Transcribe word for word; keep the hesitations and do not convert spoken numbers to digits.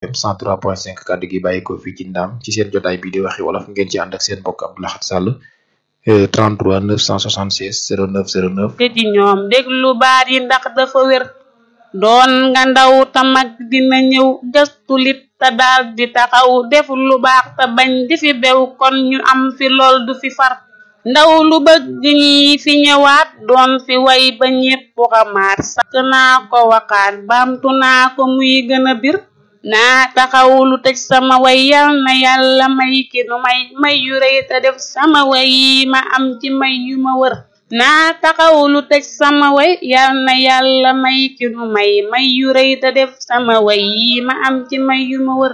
M cent trois point cinq kàddu gi bàyyi ko fii ci Ndam ci seen jotaay bi di waxi wolof ngeen ci ànd ak seen mbokk Abdou Lahad Sall trente-trois neuf cent soixante-seize zéro neuf zéro neuf te ci ñoom déglu baat yi ndax dafa wér doon nga ndaw ta mag dina ñëw gëstu lit te daal di taxaw def lu baax te bañ di fi bew kon ñu am fi lool du fi far ndaw lu bëgg ñi fi ñëwaat doon fi way ba ñépp xamaat sakk naa ko waxaat baamtu naa ko muy gën a bir naa taxaw lu tëj sama way yal na yàlla may ki nu may may yu rëy te def sama way yi ma am ci may yu ma wër naa taxaw lu tëj sama way yal na yàlla may ki nu may may yu rëy te def sama way yi ma am ci may yu ma wër